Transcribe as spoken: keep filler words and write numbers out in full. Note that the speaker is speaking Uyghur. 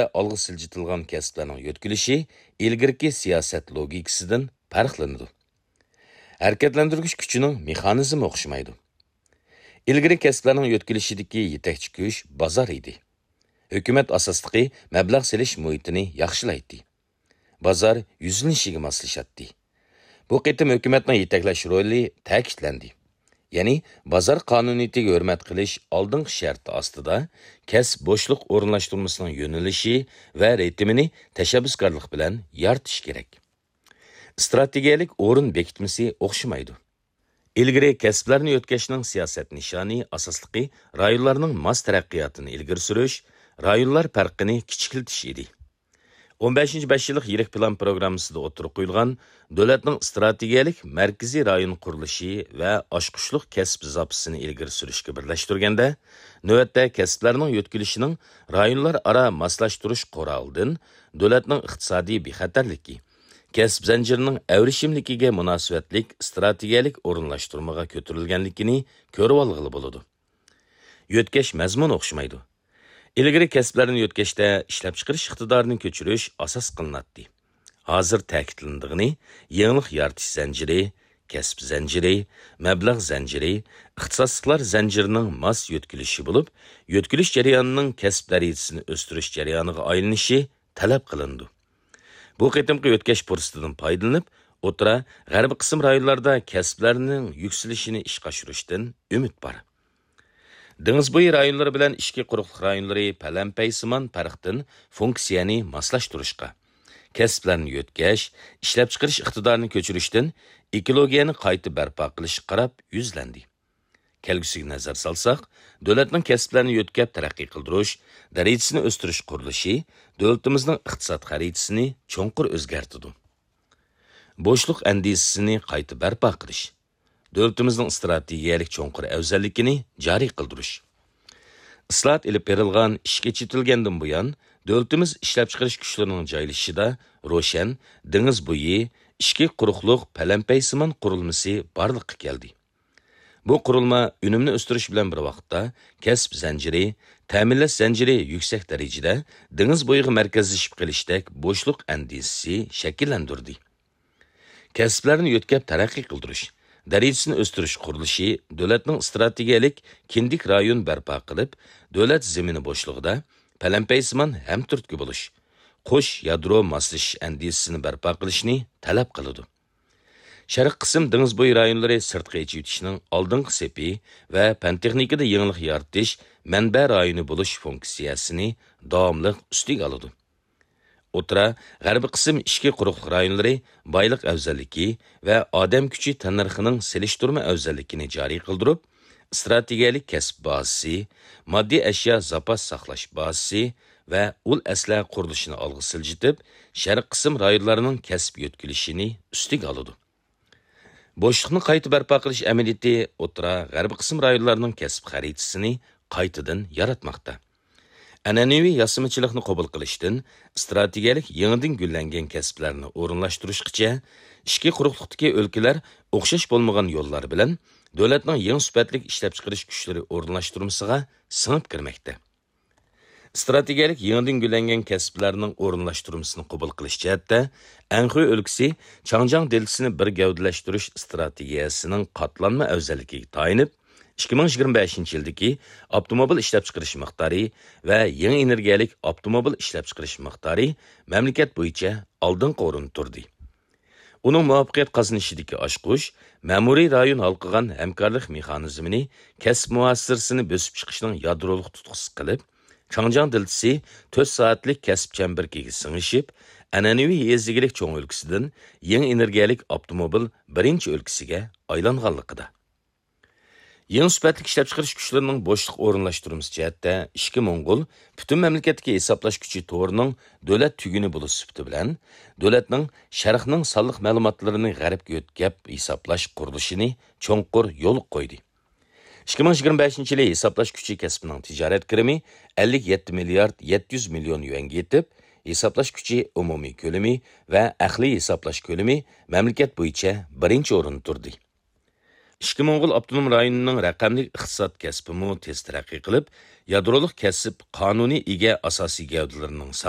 ئالغا سىلجىتىلغان كەسىپلەرنىڭ يۆتكىلىشى ئىلگىرىكى سىياسەت لوگىكىسىدىن پەرقلىنىدۇ. ھەرىكەتلەندۈرگۈچ كۈچىنىڭ مېخانىزمى ئوخشىمايدۇ. ئىلگىرى كەسىپلەرنىڭ يۆتكىلىشىدىكى يېتەكچى كۈچ بازار ئىدى. ھۆكۈمەت ئاساسلىقى مەبلەغ سېلىش مۇھىتىنى ياخشىلايتتى. بازار يۈزلىنىشىگە ماسلىشاتتى. بۇ قېتىم ھۆكۈمەتنىڭ يېتەكلەش رولى تەكىتلەندى. يەنى بازار قانۇنىيىتىگە ھۆرمەت قىلىش ئالدىنقى شەرتى ئاستىدا كەسىپ بوشلۇق ئورۇنلاشتۇرمىسىنىڭ يۆنىلىشى ۋە رىتىمىنى تەشەببۇسكارلىق بىلەن يارىتىش كېرەك. ئىستراتېگىيەلىك ئورۇن بېكىتمىسى ئوخشىمايدۇ. ئىلگىرى كەسىپلەرنى يۆتكەشنىڭ سىياسەت نىشانى ئاساسلىقى رايونلارنىڭ ماس تەرەققىياتىنى ئىلگىرى سۈرۈش، رايونلار پەرقىنى كىچىكلىتىش ئىدى. ئون بەشىنچى بەش يىللىق يىرىك پىلان پروگراممىسىدا ئوتتۇرىغا قويۇلغان دۆلەتنىڭ ئىستراتېگىيەلىك مەركىزىي رايون قۇرۇلۇشى ۋە ئاچقۇچلۇق كەسىپ زاپىسىنى ئىلگىرى سۈرۈشكە بىرلەشتۈرگەندە، نۆۋەتتە كەسىپلەرنىڭ يۆتكىلىشىنىڭ رايونلار ئارا ماسلاشتۇرۇش قورالىدىن دۆلەتنىڭ ئىقتىسادىي بىخەتەرلىكى، كەسىپ زەنجىرىنىڭ ئەۋرىشىملىكىگە مۇناسىۋەتلىك ئىستراتېگىيەلىك ئورۇنلاشتۇرمىغا كۆتۈرۈلگەنلىكىنى كۆرۈۋالغىلى بولىدۇ. يۆتكەش مەزمۇنى ئوخشىمايدۇ. ئىلگىرى كەسىپلەرنى يۆتكەشتە ئىشلەپچىقىرىش ئىقتىدارىنى كۆچۈرۈش ئاساس قىلىناتتى. ھازىر تەكىتلىنىدىغىنى، يېڭىلىق يارىتىش زەنجىرى، كەسىپ زەنجىرى، مەبلەغ زەنجىرى، ئىختىساسلىقلار زەنجىرىنىڭ ماس يۆتكىلىشى بولۇپ، يۆتكىلىش جەريانىنىڭ كەسىپ دەرىجىسىنى ئۆستۈرۈش جەريانىغا ئايلىنىشى تەلەپ قىلىنىدۇ. بۇ قېتىمقى يۆتكەش پۇرسىتىدىن پايدىلىنىپ، ئوتتۇرا، غەربىي قىسىم رايونلاردا كەسىپلەرنىڭ يۈكسىلىشىنى ئىشقا ئاشۇرۇشتىن ئۈمىد بار. دېڭىز بويى رايونلىرى بىلەن ئىچكى قۇرۇقلۇق رايونلىرى پەلەمپەيسىمان پەرقتىن فۇنكسىيەنى ماسلاشتۇرۇشقا، كەسىپلەرنى يۆتكەش، ئىشلەپچىقىرىش ئىقتىدارىنى كۆچۈرۈشتىن ئېكولوگىيەنى قايتا بەرپا قىلىشقا قاراپ يۈزلەندى. كەلگۈسىگە نەزەر سالساق، دۆلەتنىڭ كەسىپلەرنى يۆتكەپ تەرەققىي قىلدۇرۇش، دەرىجىسىنى ئۆستۈرۈش قۇرۇلۇشى دۆلىتىمىزنىڭ ئىقتىساد خەرىتىسىنى چوڭقۇر ئۆزگەرتىدۇ. بوشلۇق ئەندىزىسىنى قايتا بەرپا قىلىش، دۆلىتىمىزنىڭ ئىستراتېگىيەلىك چوڭقۇر ئەۋزەللىكىنى جارى قىلدۇرۇش. ئىسلاھات ئېلىپ بېرىلغان، ئىشقا چېتىلگەندىن بۇيان، دۆلىتىمىز ئىشلەپچىقىرىش كۈچلىرىنىڭ جايلىشىشىدا روشەن دېڭىز بويى، ئىچكى قۇرۇقلۇق پەلەمپەيسىمان قۇرۇلمىسى بارلىققا كەلدى. بۇ قۇرۇلما ئۈنۈمنى ئۆستۈرۈش بىلەن بىر ۋاقىتتا، كەسىپ زەنجىرى، تەمىنلەش زەنجىرى يۈكسەك دەرىجىدە دېڭىز بويىغا مەركەزلىشىپ قېلىشتەك بوشلۇق ئەندىزىسى شەكىللەندۈردى. كەسىپلەرنى يۆتكەپ تەرەققىي قىلدۇرۇش، دەرىجىسىنى ئۆستۈرۈش قۇرۇلۇشى دۆلەتنىڭ ئىستراتېگىيەلىك كىندىك رايون بەرپا قىلىپ، دۆلەت زېمىنى بوشلۇقىدا پەلەمپەيسىمان ھەمتۈرتكە بولۇش، قوش يادرو ماسلىشىش ئەندىزىسىنى بەرپا قىلىشنى تەلەپ قىلىدۇ. شەرقىي قىسىم دېڭىز بويى رايونلىرى سىرتقا ئېچىۋېتىشنىڭ ئالدىنقى سېپى ۋە پەن-تېخنىكىدا يېڭىلىق يارىتىش مەنبە رايونى بولۇش فۇنكسىيەسىنى داۋاملىق ئۈستىگە ئالىدۇ. ئوتتۇرا، غەربىي قىسىم ئىچكى قۇرۇقلۇق رايونلىرى بايلىق ئەۋزەللىكى ۋە ئادەم كۈچى تەننەرخىنىڭ سېلىشتۇرما ئەۋزەللىكىنى جارى قىلدۇرۇپ، ئىستراتېگىيەلىك كەسىپ بازىسى، ماددىي ئەشيا زاپاس ساقلاش بازىسى ۋە ئۇل ئەسلىھە قۇرۇلۇشىنى ئالغا سىلجىتىپ، شەرقىي قىسىم رايونلارنىڭ كەسىپ يۆتكىلىشىنى ئۈستىگە ئالىدۇ. بوشلۇقنى قايتا بەرپا قىلىش ئەمەلىيىتى ئوتتۇرا، غەربىي قىسىم رايونلارنىڭ كەسىپ خەرىتىسىنى قايتىدىن ياراتماقتا. ئەنئەنىۋى ياسىمىچىلىقنى قوبۇل قىلىشتىن ئىستراتېگىيەلىك يېڭىدىن گۈللەنگەن كەسىپلەرنى ئورۇنلاشتۇرۇشقىچە، ئىچكى قۇرۇقلۇقتىكى ئۆلكىلەر ئوخشاش بولمىغان يوللار بىلەن دۆلەتنىڭ يېڭى سۈپەتلىك ئىشلەپچىقىرىش كۈچلىرى ئورۇنلاشتۇرمىسىغا سىڭىپ كىرمەكتە. ئىستراتېگىيەلىك يېڭىدىن گۈللەنگەن كەسىپلەرنىڭ ئورۇنلاشتۇرمىسىنى قوبۇل قىلىش جەھەتتە، ئەنخۇي ئۆلكىسى چاڭجياڭ دېلتىسىنى بىر گەۋدىلەشتۈرۈش ئىستراتېگىيەسىنىڭ قاتلانما ئەۋزەللىكىگە تايىنىپ، ئىككى مىڭ يىگىرمە بەشىنچى يىلدىكى ئاپتوموبىل ئىشلەپچىقىرىش مىقدارى ۋە يېڭى ئېنېرگىيەلىك ئاپتوموبىل ئىشلەپچىقىرىش مىقدارى مەملىكەت بويىچە ئالدىنقى ئورۇندا تۇردى. ئۇنىڭ مۇۋەپپەقىيەت قازىنىشىدىكى ئاچقۇچ، مەمۇرىي رايون ھالقىغان ھەمكارلىق مېخانىزمىنى كەسىپ مۇھاسىرىسىنى بۆسۈپ چىقىشنىڭ يادرولۇق تۇتقىسى قىلىپ، چاڭجياڭ دېلتىسى تۆت سائەتلىك كەسىپ چەمبىرىكىگە سىڭىشىپ، ئەنئەنىۋى يېزا ئىگىلىك چوڭ ئۆلكىسىدىن يېڭى ئېنېرگىيەلىك ئاپتوموبىل بىرىنچى ئۆلكىسىگە ئايلانغانلىقىدا. يېڭى سۈپەتلىك ئىشلەپچىقىرىش كۈچلىرىنىڭ بوشلۇق ئورۇنلاشتۇرمىسى جەھەتتە ئىچكى موڭغۇل پۈتۈن مەملىكەتتىكى ھېسابلاش كۈچى تورىنىڭ دۆلەت تۈگۈنى بولۇش سۈپىتى بىلەن، دۆلەتنىڭ شەرقنىڭ سانلىق مەلۇماتلىرىنى غەربكە يۆتكەپ ھېسابلاش قۇرۇلۇشىنى چوڭقۇر يولغا قويدى. ئىككى مىڭ يىگىرمە بەشىنچى يىلى ھېسابلاش كۈچى كەسپىنىڭ تىجارەت كىرىمى ئەللىك يەتتە مىليارد يەتتە يۈز مىليون يۈەنگە يېتىپ، ھېسابلاش كۈچى ئومۇمىي كۆلىمى ۋە ئەقلىي ھېسابلاش كۆلىمى مەملىكەت بويىچە بىرىنچى ئورۇندا تۇردى. ئىچكى موڭغۇل ئاپتونوم رايونىنىڭ رەقەملىك ئىقتىساد كەسپىمۇ تېز تەرەققىي قىلىپ، يادرولۇق كەسىپ قانۇنىي ئىگە ئاساسىي گەۋدىلىرىنىڭ سانى